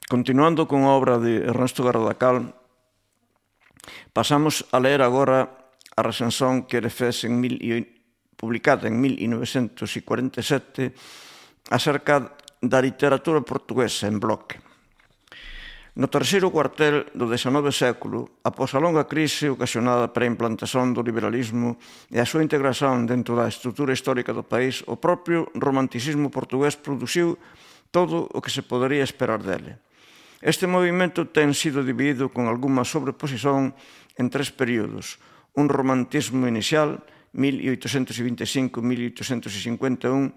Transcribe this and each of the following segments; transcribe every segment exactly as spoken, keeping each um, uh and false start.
Continuando con a obra de Ernesto Gardacal, pasamos a ler agora a recensión que ele fez en mil, publicada en mil novecentos cuarenta e sete acerca da literatura portuguesa en bloque. No terceiro cuartel do dezanove século, após a longa crise ocasionada para a implantación do liberalismo e a súa integración dentro da estrutura histórica do país, o propio romanticismo portugués produciu todo o que se podería esperar dele. Este movimento ten sido dividido con algunha sobreposición en tres períodos. Un romantismo inicial, mil oitocentos vinte e cinco a mil oitocentos cincuenta e un,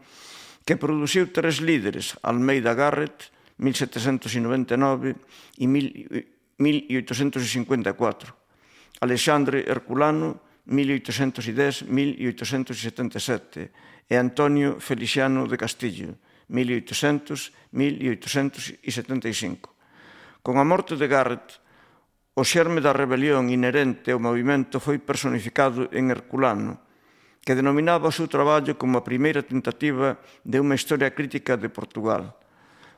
que produciu tres líderes, Almeida Garrett, mil setecentos noventa e nove e mil oitocentos cincuenta e catro. Alexandre Herculano, mil oitocentos dez a mil oitocentos setenta e sete, e Antonio Feliciano de Castillo, mil oitocentos a mil oitocentos setenta e cinco. Con a morte de Garrett, o xerme da rebelión inherente ao movimento foi personificado en Herculano, que denominaba o seu traballo como a primeira tentativa de unha historia crítica de Portugal.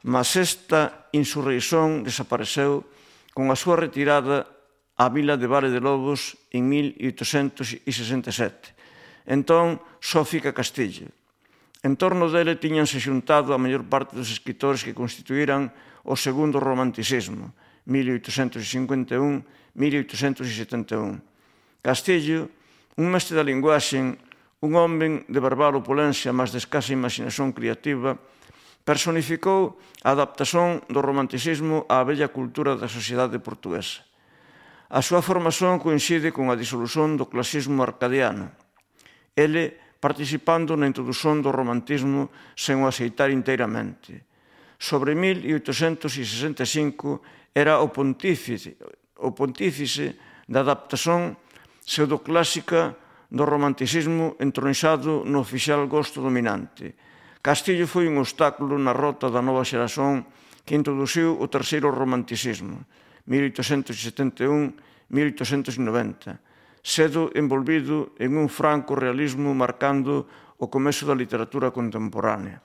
Mas esta insurreición desapareceu con a súa retirada á vila de Vale de Lobos en mil oitocentos sesenta e sete. Entón, só fica Castillo. En torno dele tíñanse xuntado a maior parte dos escritores que constituíran o segundo romanticismo, mil oitocentos cincuenta e un a mil oitocentos setenta e un. Castillo, un mestre da linguaxe, un home de verbal opulencia, mas de escasa imaginación creativa, personificou a adaptación do romanticismo á bella cultura da sociedade portuguesa. A súa formación coincide con a disolución do clasismo arcadiano. Ele participando na introdución do romantismo sen o aceitar inteiramente. Sobre mil oitocentos sesenta e cinco era o pontífice, o pontífice da adaptación pseudoclásica do romanticismo entronizado no oficial gosto dominante. Castillo foi un obstáculo na rota da nova xeración que introduciu o terceiro romanticismo, mil oitocentos setenta e un a mil oitocentos noventa, sendo envolvido en un franco realismo marcando o comezo da literatura contemporánea.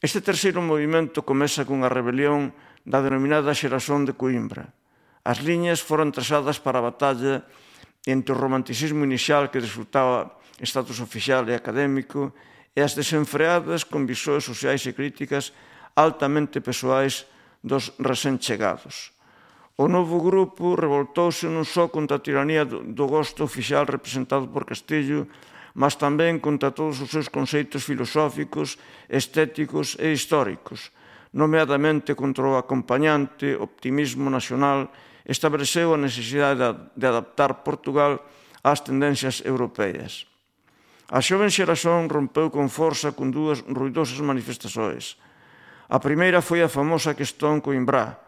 Este terceiro movimento comeza cunha rebelión da denominada xeración de Coimbra. As liñas foron trazadas para a batalla entre o romanticismo inicial que desfrutaba estatus oficial e académico e as desenfreadas conviccións sociais e críticas altamente persoais dos recén chegados. O novo grupo revoltouse non só contra a tiranía do gosto oficial representado por Castillo, mas tamén contra todos os seus conceitos filosóficos, estéticos e históricos. Nomeadamente contra o acompañante optimismo nacional, estableceu a necesidade de adaptar Portugal ás tendencias europeas. A xoven xeración rompeu con forza con dúas ruidosas manifestações. A primeira foi a famosa Questón Coimbrá,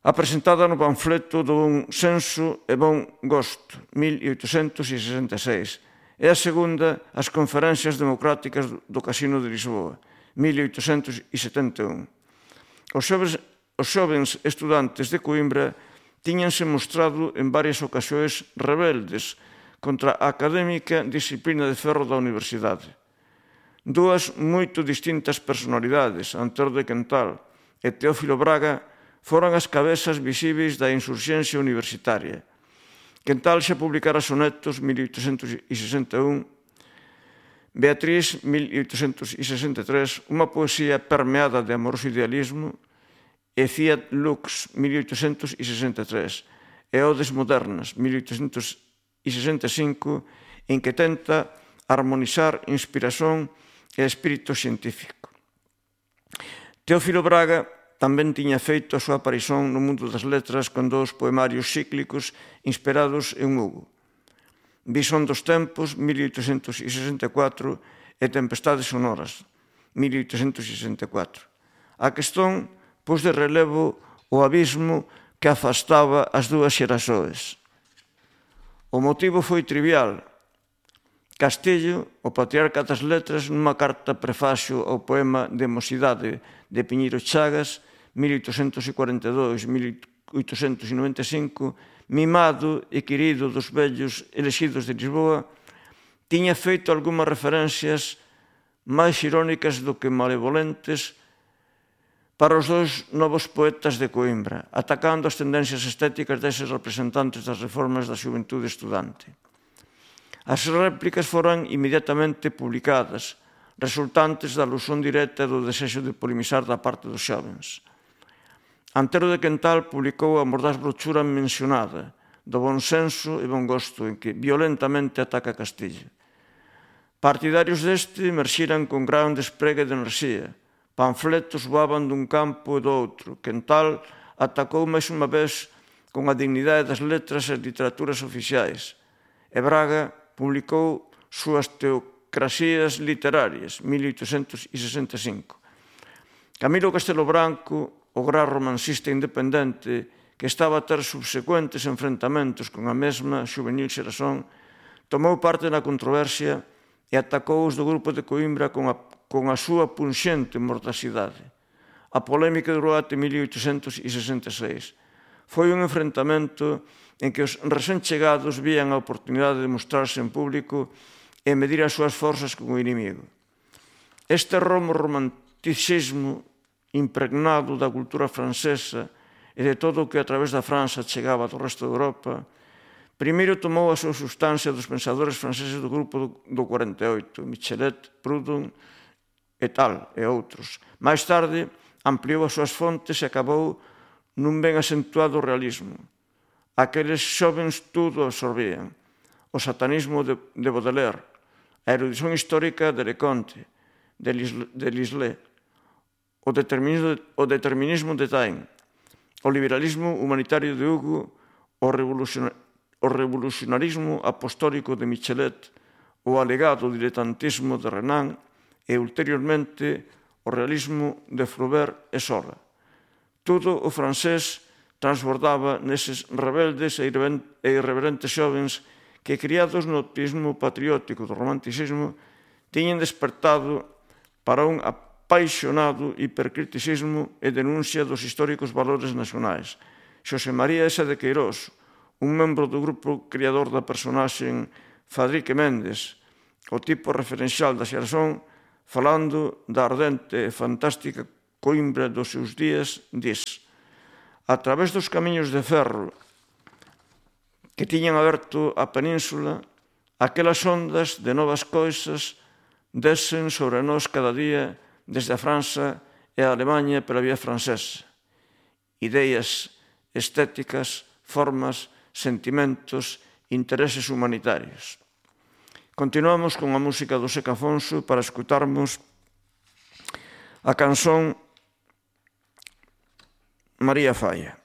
apresentada no panfleto do Bon Senso e Bon Gosto, mil oitocentos sesenta e seis, e a segunda, as Conferencias Democráticas do Casino de Lisboa, mil oitocentos setenta e un. Os xovens, os xovens estudantes de Coimbra tíñanse mostrado en varias ocasións rebeldes contra a académica disciplina de ferro da universidade. Dúas moito distintas personalidades, Antero de Quental e Teófilo Braga, foran as cabezas visíveis da insurxencia universitaria. Quental xa publicara sonetos, mil oitocentos sesenta e un, Beatriz, mil oitocentos sesenta e tres, unha poesía permeada de amoroso idealismo, e Fiat Lux, mil oitocentos sesenta e tres, e Odes Modernas, mil oitocentos sesenta e cinco, en que tenta armonizar inspiración e espírito científico. Teófilo Braga tamén tiña feito a súa aparición no mundo das letras con dous poemarios cíclicos inspirados en Hugo. Visón dos tempos, mil oitocentos sesenta e catro, e Tempestades sonoras, mil oitocentos sesenta e catro. A questón pos de relevo o abismo que afastaba as dúas xeraxoes. O motivo foi trivial. Castillo, o patriarca das letras, nunha carta prefacio ao poema de Mocidade de Piñeiro Chagas, mil oitocentos cuarenta e dois a mil oitocentos noventa e cinco, mimado e querido dos vellos elexidos de Lisboa, tiña feito algunhas referencias máis irónicas do que malevolentes para os dois novos poetas de Coimbra, atacando as tendencias estéticas deses representantes das reformas da xuventude estudante. As réplicas foran inmediatamente publicadas, resultantes da alusión directa do desexo de polemizar da parte dos xóvens. Antero de Quental publicou a mordaz brochura mencionada, do bon senso e bon gosto, en que violentamente ataca Castilla. Partidarios deste emerxiran con gran despregue de enerxía. Panfletos voaban dun campo e do outro. Quental atacou máis unha vez con a dignidade das letras e literaturas oficiais. E Braga publicou súas teocraxías literarias, mil oitocentos sesenta e cinco. Camilo Castelo Branco, o gran romancista independente, que estaba a ter subsecuentes enfrentamentos con a mesma xuvenil xeración, tomou parte na controversia e atacou os do grupo de Coimbra con a, con a súa punxente mordacidade. A polémica durou até mil oitocentos sesenta e seis. Foi un enfrentamento en que os recén chegados vían a oportunidade de mostrarse en público e medir as súas forzas con o inimigo. Este romo romanticismo impregnado da cultura francesa e de todo o que a través da França chegaba do resto de Europa, primeiro tomou a súa sustancia dos pensadores franceses do grupo do cuarenta e oito, Michelet, Proudhon e tal, e outros. Mais tarde, ampliou as súas fontes e acabou nun ben acentuado realismo. Aqueles xóvens tudo absorbían. O satanismo de Baudelaire, a erudición histórica de Leconte, de Lisle, o determinismo de Taine, o liberalismo humanitario de Hugo, o revolucionarismo apostólico de Michelet, o alegado diletantismo de Renan e, ulteriormente, o realismo de Flaubert e Zola. Todo o francés transbordaba neses rebeldes e irreverentes xóvens que, criados no optimismo patriótico do romanticismo, tiñen despertado para un apaixonado hipercriticismo e denuncia dos históricos valores nacionais. Xosé María Esa de Queirós, un membro do grupo criador da personaxe Fadrique Méndez, o tipo referencial da xeración, falando da ardente e fantástica Coimbra dos seus días, dis: a través dos camiños de ferro que tiñan aberto a península, aquelas ondas de novas coisas desen sobre nós cada día desde a França e a Alemanha pela vía francesa. Ideas estéticas, formas, sentimentos, intereses humanitarios. Continuamos con a música do Seca Afonso para escutarmos a canción María Falla.